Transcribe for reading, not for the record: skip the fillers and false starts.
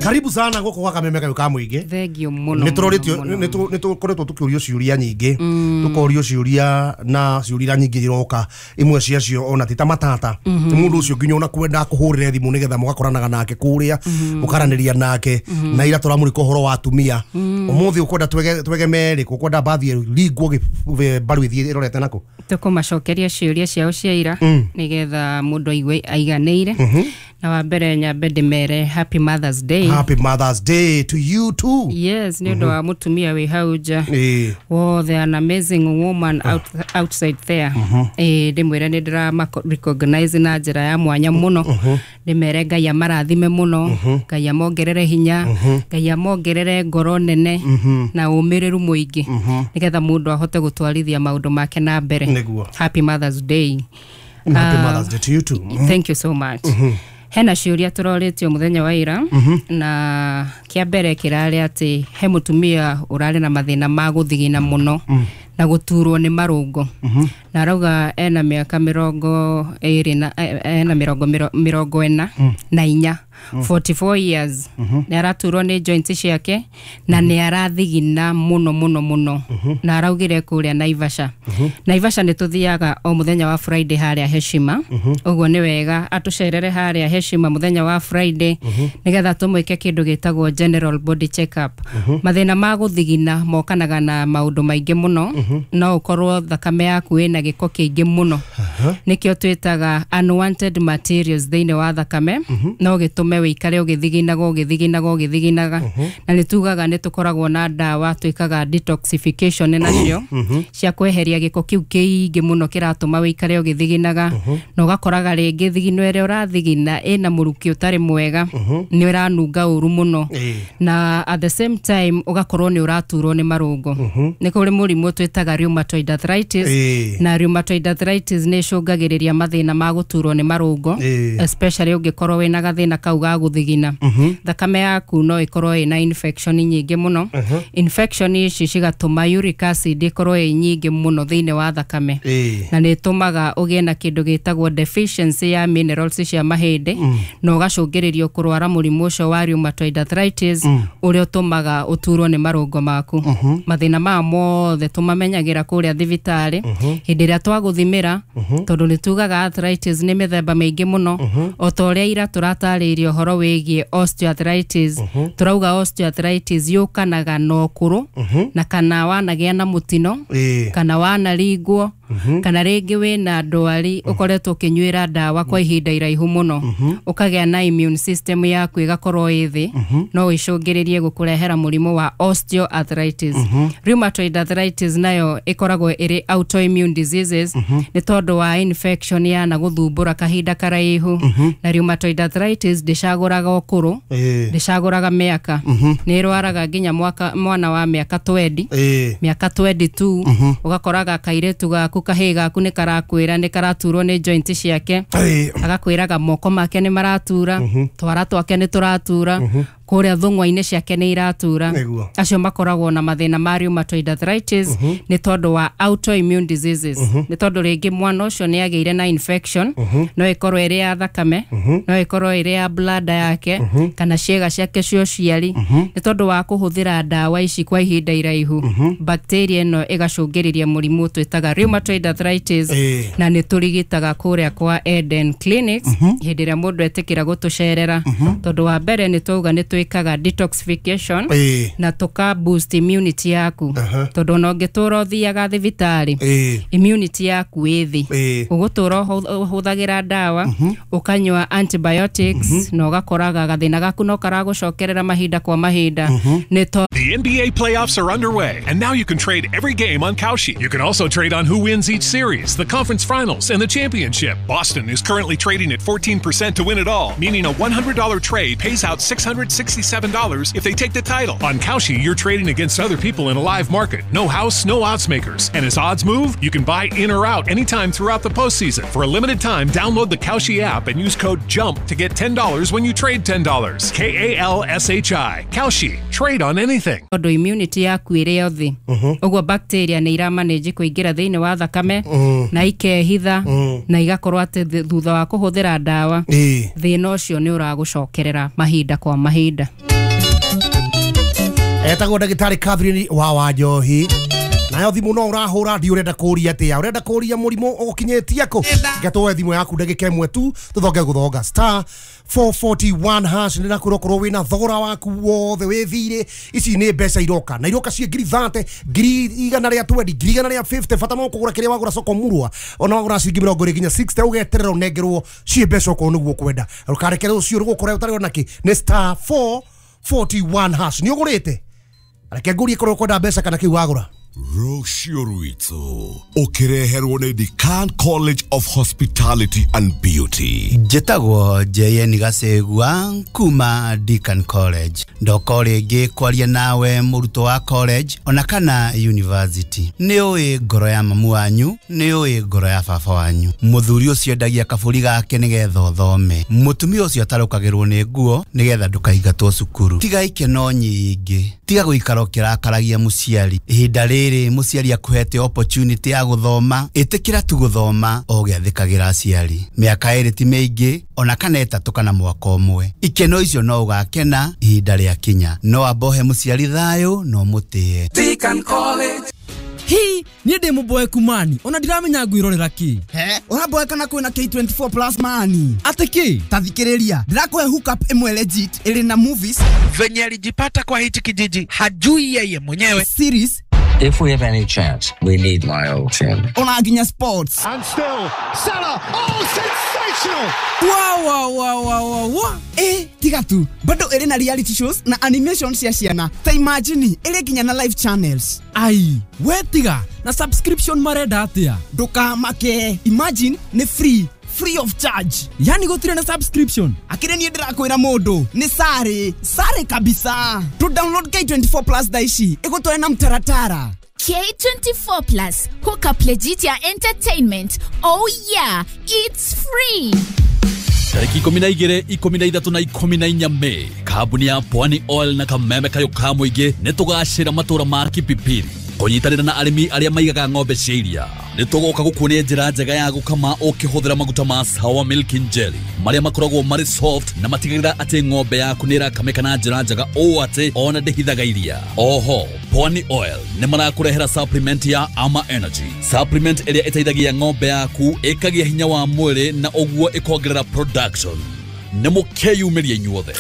Karibu sana gũkũ gwa Kameme kayũ ka mũingĩ. Thengio mũno. Nĩ tũrorĩtio, nĩ tũkoretwo tũkĩũrio ciũria nyingĩ, tũkorio ciũria na ciũria nyingĩ iroka, imwe ciacio ona ti ta matata. Nĩ mũndũ ũcio nginya ona kwenda kũhũrĩre thimũ nĩgetha mũgakoranaga nake kũrĩa, mũkaranĩria nake. Na ira tũramũrĩka ũhoro wa atumia. Ũmũthĩ ũkwenda twegeme rĩ, ũkwenda mbathi ĩringwo mbaru ĩthiĩ ĩrorete nakũ? Tũkũmacokeria ciũria ciao cia ira nĩgetha mũndũ aigue aiganĩire. Na wa mbere nyambe ndĩmere Happy Mother's Day. Happy Mother's Day to you too. Yes, nĩ ũndũ wa mũtumia wĩ hau nja wothe, an amazing woman outside there. Ndĩmwĩre nĩ ndĩrama recognize na njĩra ya mwanya mũno. Ndĩmere Ngai amarathime mũno, Ngai amongerere hinya, Ngai amongerere ngoro nene na ũmĩrĩru mũingĩ, nĩgetha mũndũ ahote gũtwarithia maũndũ make na mbere. Nĩguo. Happy Mother's Day. Happy Mother's Day to you too. Thank you so much. Hena ciũria tũrorĩtio mũthenya wa ira, na kĩa mbere kĩrarĩ atĩ he mũtumia ũrarĩ na mathĩna ma gũthigina mũno na gũturwo nĩ marũngo. Na arauga ena mĩaka 24 na ena 44, 44 years. Nĩ araturwo nĩ joints ciake na nĩ arathigina mũno mũno mũno. Na araugire kũrĩa Naivasha. Naivasha nĩ tũthiaga o mũthenya wa Friday harĩa Heshima. Ũguo nĩ wega atũcerere harĩa Heshima mũthenya wa Friday, nĩgetha tũmwĩke kĩndũ gĩtagwo general body check up. Mathĩna ma gũthigina mokanaga na maũndũ maingĩ mũno. No ũkorwo thakame yaku ĩna gĩko kĩingĩ mũno, nĩkĩo twĩtaga unwanted materials thĩinĩ wa thakame. No gĩtũme wĩikare ũgĩthiginaga ũgĩthiginaga ũgĩthiginaga. Na nĩ tugaga nĩ tũkoragwo na ndawa twĩkaga detoxification nacio cia kweheria gĩko kĩu kĩingĩ mũno kĩratũma wĩikare ũgĩthiginaga. Na ũgakoraga rĩngĩ thigino ĩrĩa ũrathigina ĩna mũrukĩ ũtarĩ mwega, nĩ ũranunga ũru mũno. Na at the same time ũgakorwo nĩ ũraturwo nĩ marũngo. Nĩ kũrĩ mũrimũ twĩtaga rheumatoid arthritis. Na rheumatoid arthritis nĩ ĩcũngagĩrĩria mathĩna ma gũturwo nĩ marũngo, especially ũngĩkorwo wĩna gathĩna kau ga gũthigina. Thakame yaku no ĩkorwo ĩna infection nyingĩ mũno. Infection ici cigatũma uric acid ĩkorwo ĩ nyingĩ mũno thĩinĩ wa thakame. Na nĩ ĩtũmaga ũgĩe na kĩndũ gĩtagwo deficiency ya minerals cia mahĩndĩ, na ũgacũngĩrĩrio kũrwara mũrimũ ũcio wa rheumatoid arthritis, ũrĩa ũtũmaga ũturwo nĩ marũngo maku. Mathĩna maya mothe tũmamenyagĩra kũrĩa thibitarĩ hĩndĩ ĩrĩa twagũthimĩra, tondũ nĩ tugaga arthritis nĩ mĩthemba mĩingĩ mũno. O ta ũrĩa ira tũratarĩirie ũhoro wĩgiĩ osteoarthritis, tũrauga osteoarthritis yũkanaga na ũkũrũ, na kana wanagĩa na mũtino, kana wanaringwo, kana rĩngĩ wĩna ndwari ũkoretwo ũkĩnyuĩra ndawa kwa ihinda iraihu mũno, ũkagĩa na immune system yaku ĩgakorwo ĩ thĩ, no ĩcũngĩrĩrie gũkũrehera mũrimũ wa osteoarthritis. Rheumatoid arthritis nayo ĩkoragwo ĩrĩ autoimmune diseases, nĩ tondũ wa infection yana gũthumbũra kahinda karaihu. Na rheumatoid arthritis ndĩcagũraga ũkũrũ, ndĩcagũraga mĩaka, nĩ ĩrwaraga nginya mwana wa mĩaka 20, mĩaka 22. Ũgakoraga kairĩtu gaku, kahĩĩ gaku nĩ karakwĩra nĩ karaturwo nĩ joint ciake, agakwĩraga moko make nĩ maratura, twara twake nĩ tũratura, kũrĩa thũng'wa-inĩ ciake nĩ iratura. Acio makoragwo na mathĩna ma rheumatoid arthritis nĩ tondũ wa autoimmune diseases. Nĩ tondũ rĩngĩ mwana ũcio nĩ agĩire na infection, no ĩkorwo ĩrĩ ya thakame, no ĩkorwo ĩrĩ ya bladder yake, kana ciĩga ciake cia ũciari. Nĩ tondũ wa kũhũthĩra ndawa ici kwa ihinda iraihu, bacteria ĩno ĩgacũngĩrĩria mũrimũ twĩtaga rheumatoid arthritis. Na nĩ tũrigitaga kũrĩa kwa Eden Clinics hĩndĩ ĩrĩa mũndũ etĩkĩra gũtũcerera, tondũ wa mbere nĩ twauga nĩ twĩkaga detoxification na tũka boost immunity yaku, tondũ ona ũngĩtũra ũthiaga thibitarĩ, immunity yaku ĩ thĩ. Ũgũtũra ũhũthagĩra ndawa, ũkanyua antibiotics, na ũgakoraga gathĩna gaku no karagũcokerera mahinda kwa mahinda. Nĩ The NBA playoffs are underway, and now you can trade every game on Kalshi. You can also trade on who wins each series, the conference finals, and the championship. Boston is currently trading at 14% to win it all, meaning a $100 trade pays out $667 if they take the title. On Kalshi, you're trading against other people in a live market. No house, no odds makers. And as odds move, you can buy in or out anytime throughout the postseason. For a limited time, download the Kalshi app and use code JUMP to get $10 when you trade $10. Kalshi. Kalshi. Trade on anything. Tondũ immunity yaku ĩrĩ o thĩ, ũguo bacteria nĩ iramanage kũingĩra thĩinĩ wa thakame na ikehitha, na igakorwo atĩ thutha wa kũhũthĩra ndawa, thĩna ũcio nĩ ũragũcokerera mahinda kwa mahinda. Etagwo ndagĩtarĩ Catherine wa Wanjohi. Nayo thimũ no ũrahũra ndi ũrenda kũria atĩa, ũrenda kũria mũrimũ ũgũkinyĩtie kũ. Ngatũwe thimũ yaku ndagĩka ĩmwe tu tũthonge gũthonga star 441 hash nĩ nakwĩra ũkorwo wĩna thogora waku wothe wĩ thirĩ. Ici nĩ mbeca iroka na iroka ciĩ 30,000, 120,000, 150,000. Bata no kũgũra kĩrĩa wagũra soko murwa, ona wagũra ciringi 20 nginya 60 ũgeterera ũnengerwo ciĩ mbeca okorwo nĩguo ũkwenda. Ũkarekere ũcio rũgũkora ũtarĩ ona kĩ nĩ star 441 hash. Nĩ ũgũrĩte? Reke ngũrie korwo ũkwenda mbeca kana kĩu wagũra. Rũciũ rwitũ ũkĩreherwo nĩ Decan College of Hospitality and Beauty. Njĩtagwo JN Gacegua kuma Decan College. Ndoka rĩngĩ kwaria nawe mũrutwo wa college ona kana university. Nĩ ũĩ ngoro ya mamu wanyu, nĩ ũĩ ngoro ya baba wanyu. Mũthuri ũcio endagia kabũri gake nĩgetha ũthome. Mũtumia ũcio atarũkagĩrwo nĩ nguo nĩgetha ndũkaingatwo cukuru. Tiga ikeno nyingĩ, tiga gũikara ũkĩrakaragia mũciari. Ihinda rĩrĩ mũciari akuhete opportunity ya gũthoma, ĩtĩkĩra tu gũthoma o ũgĩathĩkagĩra aciari. Mĩaka 2 ti mĩingĩ ona kana 3 kana mwaka ũmwe. Ikeno icio no ũgakena ihinda rĩakinya. No ambohe mũciari thayũ no mũtĩe. Decan College. Hi, niĩ ndĩ mũboeku mani ona ndiramenya ngwĩrorera kĩ. He, ũraboeka na kwĩna K24 plus mani. Atĩ kĩ? Ta thikĩrĩria, ndĩrakũhe hookup ĩmwe legit ĩrĩ na movies. Venye alijipata kwa hichi kijiji hajui yeye mwenyewe. Series. If we have any chance, we need my old team. Ona nginya sports. And still, Salah, oh, sensational! Wow, wow, wow, wow, wow. Tiga tu, bado ĩrĩ na reality shows na animation cia ciana. Ta imagine, ĩrĩ nginya na live channels. Ai, we tiga, na subscription marenda atĩa? Ndũkamake, imagine nĩ free. Free of charge. Yani gũtirĩ na subscription. Akĩrĩ niĩ ndĩrakwĩra mũndũ nĩ sare sare kabisa. To download K24 plus thaa ici ĩgũtware na mtaratara. K24 plus hook up legit ya entertainment. Oh yeah, it's free. Tariki 12, 13 na 14 Mei, kambuni ya Pwani Oil na kameme kayo ka mũingĩ nĩ tũgacĩra matũra ma Kipipiri kũnyitanĩra na arĩmi arĩa maigaga ng'ombe cia iria. Nĩ tũgoka gũkuonia njĩra njega ya gũkama ũkĩhũthĩra maguta ma Sawa Milk and Jelly marĩa makoragwo marĩ soft na matigagĩrĩra atĩ ng'ombe yaku nĩ ĩrakamĩka na njĩra njega ũũ atĩ ona ndĩhithaga iria. Oho, Pwani Oil nĩ marakũrehera supplement ya Ama Energy, supplement ĩrĩa ĩteithagia ng'ombe yaku ĩkagĩa hinya wa mwĩrĩ na ũguo ĩkongerera production. Nĩ mũkeyumĩria inyuothe.